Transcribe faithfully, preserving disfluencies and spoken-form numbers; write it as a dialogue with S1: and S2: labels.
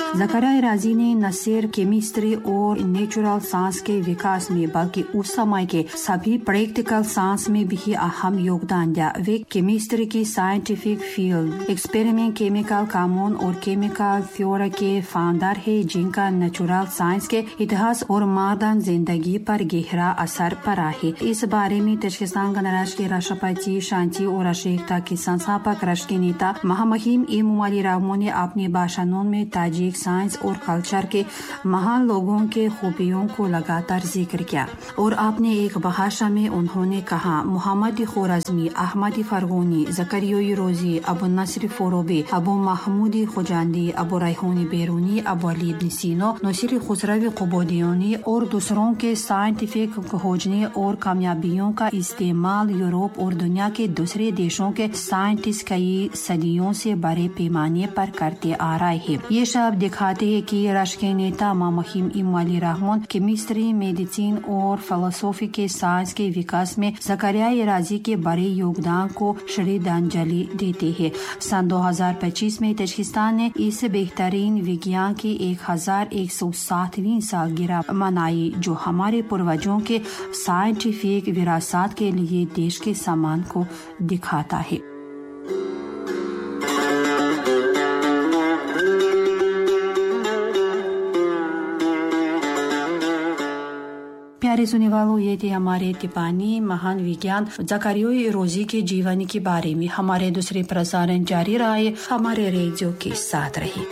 S1: Zakaria राजी ने न सिर्फ केमिस्ट्री और नेचुरल साइंस के विकास में बल्कि उस समय के सभी प्रैक्टिकल साइंस में भी अहम योगदान दिया। वे केमिस्ट्री की scientific field, experiment, chemical कानून और केमिकल थ्योरी के फाउंडर है, जिनका नेचुरल साइंस के इतिहास और मॉडर्न जिंदगी पर गहरा असर पड़ा है। इस बारे में ताजिकिस्तान गणराज्य के राष्ट्रपति, शांति और राष्ट्रीय के संस्थापक राष्ट्रीय नेता महामहिम इमोमाली रहमोन ने अपने भाषणों में ताजिक साइंस और कल्चर के महान लोगों के खूबियों को लगातार जिक्र किया और अपने एक भाषण में उन्होंने कहा, मोहम्मद खोरज़मी, अहमद फरगोनी, ज़करिया रोजी, अबू नसर फरोबी, अबू महमूद खुजांदी, अबू रैहान बेरूनी, अबू अली इब्न सीना, नसीर खुसरव कुबोदियोनी और दूसरों के साइंटिफिक खोजने और कामयाबियों का इस्तेमाल यूरोप और दुनिया के दूसरे देशों के साइंटिस्ट कई सदियों से बड़े पैमाने पर करते आ रहे हैं। ये सब दिखाते हैं कि राष्ट्रीय नेता महामहिम इमोमाली रहमोन केमिस्ट्री, मेडिसिन और फिलोसॉफी के साइंस के विकास में ज़करिया राजी के बड़े योगदान को श्रद्धांजलि देते हैं। सन दो हज़ार पच्चीस में ताजिकिस्तान ने इस बेहतरीन विज्ञान की एक हजार एक सौ सातवीं सालगिरह मनाई, जो हमारे पूर्वजों के साइंटिफिक विरासत के लिए देश के सम्मान को दिखाता है। प्यारे सुनने वालों, ये थे हमारे तिपानी महान विज्ञान ज़करिया रोजी के जीवन के बारे में। हमारे दूसरे प्रसारण जारी रहे, हमारे रेडियो के साथ रहे।